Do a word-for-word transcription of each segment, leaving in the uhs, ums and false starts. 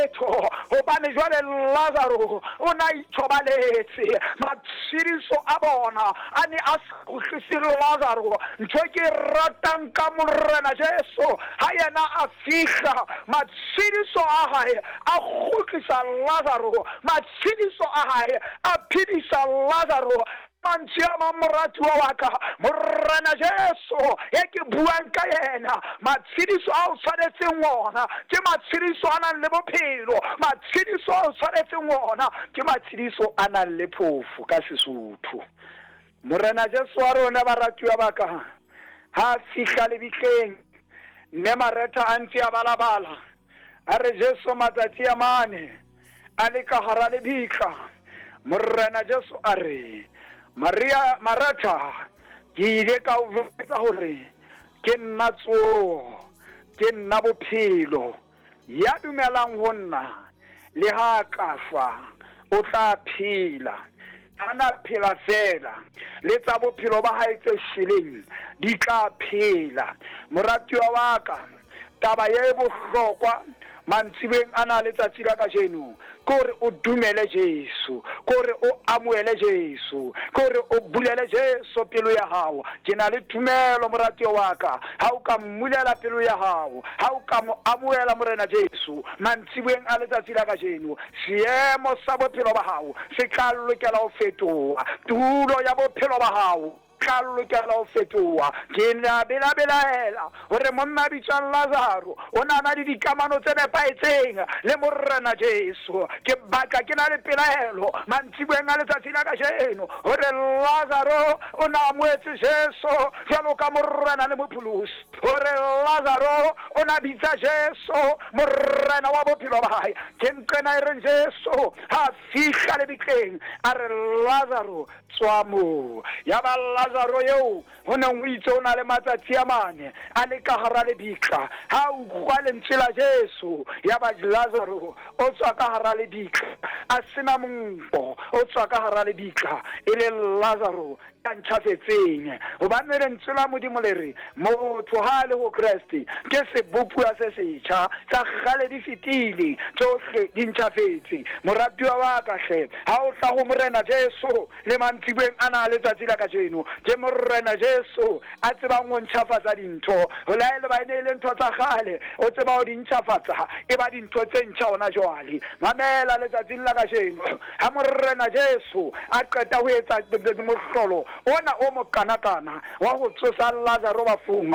letho, hobane jwale Lazaro o na ithobaletse. Matshediso a bona a ne a sa kgutlise Lazaro. Ntho e ke e ratang ka Morena Jesu, ha yena a fihla, matshediso a hae a kgutlisa Lazaro, matshediso a hae a phedisa Lazaro. Mantswe a mang, moratuwa wa ka, Morena Jesu e ke buang ka yena, matshediso a o tshwanetseng ona ke matshediso a nang le bophelo, matshediso a o tshwanetseng ona ke matshediso a nang le phofo ka Sesotho. Morena Jesu wa rona, baratuwa ba ka, ha fihla lebitleng, mme Maretha a ntse a balabala, a re Jesu matsatsi a mane a le ka hara lebitla. Morena Jesu a re, Maria, Maretha, ke ile ka o jwetsa hore ke nna tsoho, ke nna bophelo. Ya dumelang ho nna, le ha ka shwa, o tla phela. Ha na phela feela, le tsa bophelo ba hae tse shweleng di tla phela. Moratuwa wa ka, taba e bohlokwa mantsibeng ana letsatsi la kajeno ke hore o dumele Jesu, ke hore o amohele Jesu, ke hore o bulele Jesu pelo ya hao. Ke na le tumelo, moratuwa wa ka, ha o ka mmulela pelo ya hao, ha o ka mo amohela Morena Jesu mantsibeng a letsatsi la kajeno, seemo sa bophelo ba hao se tla lokela ho fetoha, tulo ya bophelo ba hao tla lokela ho fetoha. Ke na belabelaela hore monna a bitswang Lazaro o na na le dikamano tse nepahetseng le Morena Jesu. Ke batla ke na le pelaelo mantsiboeng a letsatsi la kajeno hore Lazaro o na amohetse Jesu jwalo ka Morena le Mopholosi, hore Lazaro o na bitsa Jesu Morena wa bophelo ba hae. Ke nqena e reng Jesu ha fihla lebitleng a re, Lazaro tswa moo. Ya ba Lazaro eo ho neng ho itse o na le matsatsi a mane a le ka hara lebitla, ha utlwa lentswe la Jesu, ya ba Lazaro o tswa ka hara lebitla a sena monko, o tswa ka hara lebitla e le Lazaro ya ntjhafetseng. Hobane lentswe la Modimo le re motho ha a le ho Kreste ke sebopuwa se setjha, tsa kgale di fetile, tsohle di ntjhafetse. Moratuwa wa ka hle, ha o tla ho Morena Jesu le mantsibeng ana a letsatsi la kajeno, ke Morena Jesu a tsebang ho ntjhafatsa dintho. Ho laele ba e ne e le ntho tsa kgale, o tseba ho di ntjhafatsa, e ba dintho tse ntjha hona jwale. Mamela letsatsing la kajeno, ha Morena Jesu a qeta ho etsa mohlolo ona o mokanakana wa ho tsosa Lazaro bafung,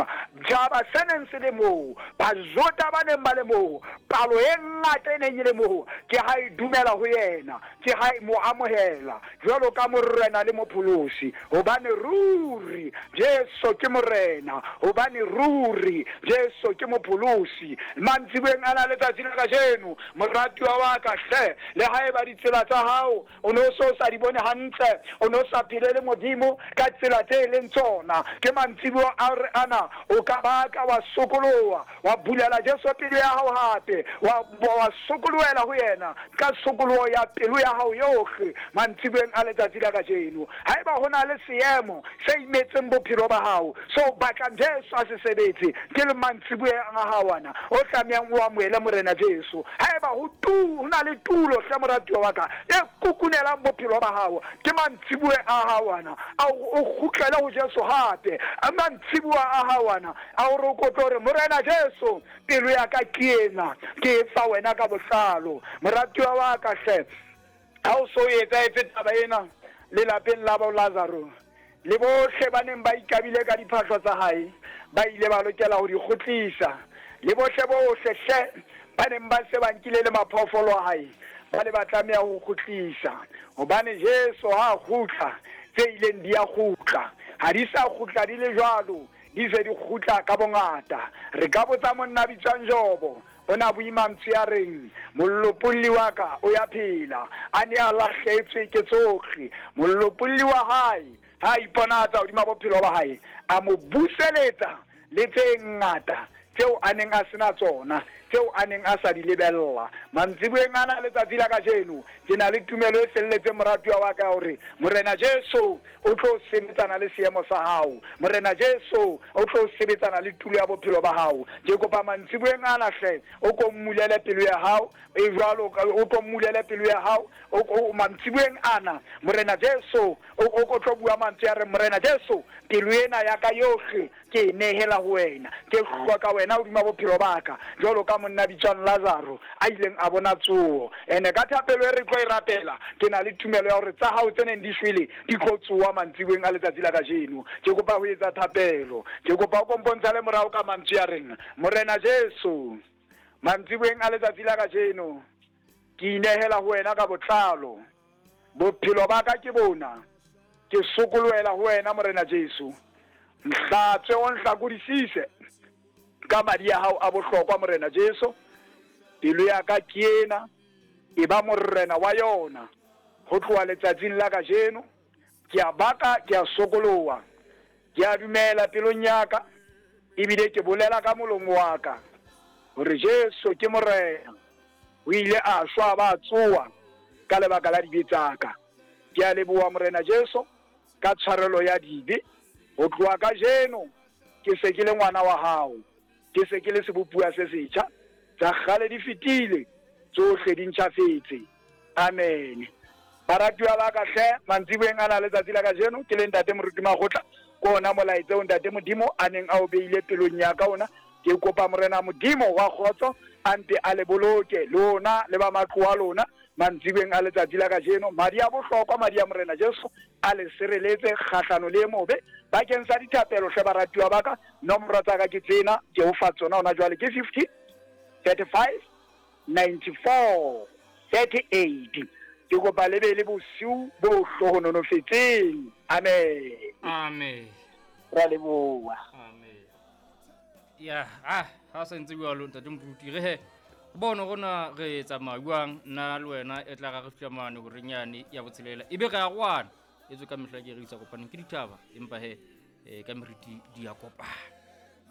jaba se neng se le moo, Bajuda ba neng ba le moo, palo e ngata e neng e le moo, ke ha e dumela ho yena, ke ha e mo amohela jwalo ka Morena le Mopholosi. Hobane ruri Jesu ke Morena, hobane ruri Jesu ke Mopholosi. Mantsibeng ana letsatsi la kajeno, moratuwa wa ka hle, le haeba ditsela tsa hao o no so sa di bone hantle, o no sa phele le Modimo ka tsela tse leng tsona, ke mantsibuo a re ana o ka baka wa sokoloha, wa bulela Jesu pelo ya hao hape, wa wa sokolohela ho yena ka sokoloho ya pelo ya hao yohle mantsibueng a letsatsi la kajeno. Haeba ho na le seemo se imetseng bophelo ba hao, so batlang Jesu a se sebetse, ke le mantsibueng a hao ana o tlamehang o amohele Morena Jesu. Haeba ho tu ho na le tulo hle moratuwa wa ka e kukunelang bophelo ba hao, ke mantsibueng a hao ana a o kgutlele ho Jesu hape. A mantsibuwa a hao ana a hore o kope hore Morena Jesu pelo ya ka ke ena, ke e fa wena ka botlalo. Moratuwa wa ka hle, ha o so etsahetse taba ena lelapeng la bo Lazaro, le bohle ba neng ba ikabile ka diphahlo tsa hae ba ile ba lokela ho di kgutlisa, le bohle bohle hle ba neng ba se ba nkile le maphoofolo a hae ba ne ba tlameha ho kgutlisa. Hobane Jesu ha kgutla, tse ileng di a kgutla, ha di sa kgutla di le jwalo, di se di kgutla ka bongata. Re ka botsa monna bitswang Jobo, o na bue mantswe a reng, molopolli wa ka o ya phela, a ne a lahletswe ke tsohle. Molopolli wa hae ha iponatsa hodima bophelo ba hae, a mo buseletsa le tse ngata tseo a neng a sena tsona. tseo a neng a sa di lebella. Mantsiboeng ana letsatsi la kajeno, ke na le tumelo e felletseng moratuwa wa ka hore Morena Jesu o tlo sebetsana le seemo sa hao. Morena Jesu o tlo sebetsana le tulo ya bophelo ba hao. Ke kopa mantsiboeng ana hle o ko mmulele pelo ya hao, e jwalo o ko mmulele pelo ya hao. O mantsiboeng ana Morena Jesu o ko tlo bua mantswe a re Morena Jesu pelo ena ya ka yohle ke e nehela ho wena, ke hloka wena hodima bophelo ba ka, jwalo ka monna bitswang Lazaro a ileng a bona tsoho. Ene ka thapelo e re tlo e rapela, ke na le tumelo ya hore tsa hao tse neng di shwele di tlo tsoha mantsiboeng a letsatsi la kajeno. Ke kopa ho etsa thapelo, ke kopa o kompontsha le morao ka mantswe a reng Morena Jesu, mantsiboeng a letsatsi la kajeno ke inehela ho wena ka botlalo. Bophelo ba ka ke bona, ke sokolohela ho wena Morena Jesu. Nhlatswe o nhlakodisise ka madi a hao a bohlokwa Morena Jesu. Pelo ya ka ke ena, e ba morena wa yona ho tloha letsatsing la kajeno. Ke a baka, ke a sokoloha, ke a dumela pelong ya ka, ebile ke bolela ka molomo wa ka hore Jesu ke Morena. O ile a shwa ba tsoha ka lebaka la dibe tsa ka. Ke a leboha Morena Jesu ka tshwarelo ya dibe. Ho tloha kajeno ke se ke le ngwana wa hao, ke se ke le sebopuwa se setjha. Tsa kgale di fetile, tsohle di ntjhafetse. Amen. Baratuwa ba ka hle, mantsiboeng ana letsatsi la kajeno ke le ntate Moruti Makgotla, ke ona molaetsa o ntate Modimo a neng a o beile pelong ya ka ona. Ke kopa Morena Modimo wa kgotso a mpe a le boloke lona le ba matlo a lona mantsiboeng a letsatsi la kajeno. Madi a bohlokwa, madi a Morena Jesu a le sireletse kgahlano le e mobe. Bakeng sa dithapelo hle baratuwa ba ka, nomoro tsa ka ke tsena, ke o fa tsona hona jwale, ke fifty, thirty-five, ninety-four, thirty-eight. Ke kopa le be le bosiu bo hlohononofetseng. Amen. Amen. Ra leboha. Amen. Ya, ah, ha sa ntse bua lo ntate Moruti, re he bona rona re tsamaya jwang nna le wena e tla ra re fihla mane horeng yane ya botshelela, ebe re a rwana. Etswe ka mehla ke re isa kopaneng ke dithaba, empa he eh, ka meriti di a kopana.